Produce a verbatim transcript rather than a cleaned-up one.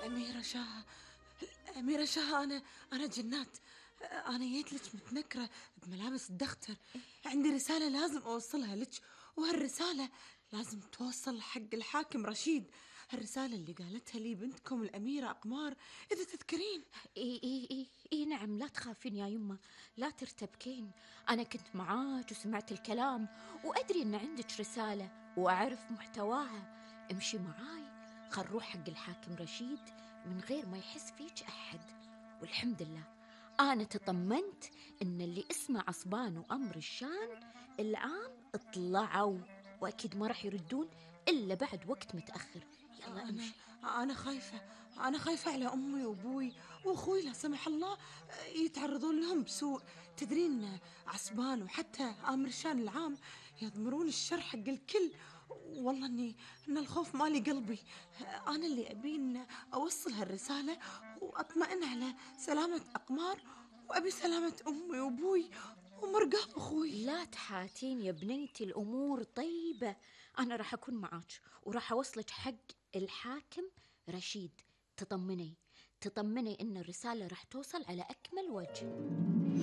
الأميرة شاه، الأميرة شاه، أنا أنا جنات. أنا جيت لك متنكرة بملابس الدختر. عندي رسالة لازم أوصلها لك، وهالرسالة لازم توصل حق الحاكم رشيد. هالرسالة اللي قالتها لي بنتكم الأميرة أقمار، إذا تذكرين. إيه إيه إيه إيه نعم، لا تخافين يا يمه، لا ترتبكين. أنا كنت معاك وسمعت الكلام، وأدري إن عندك رسالة وأعرف محتواها. امشي معاي، خل نروح حق الحاكم رشيد من غير ما يحس فيك أحد. والحمد لله أنا تطمنت إن اللي اسمه عصبان وأمر الشان الآن اطلعوا، وأكيد ما راح يردون إلا بعد وقت متأخر. يلا أنا امشي. أنا خايفة، أنا خايفة على أمي وأبوي وأخوي، لا سمح الله يتعرضون لهم بسوء. تدرين عصبان وحتى آمر شان العام يضمرون الشر حق الكل. والله إني إن الخوف مالي قلبي. أنا اللي أبي إن أوصل هالرسالة وأطمئن على سلامة أقمار، وأبي سلامة أمي وأبوي ومرقاب أخوي. لا تحاتين يا بنيتي، الأمور طيبة. أنا راح أكون معاك وراح أوصلك حق الحاكم رشيد. تطمني تطمني إن الرسالة راح توصل على أكمل وجه.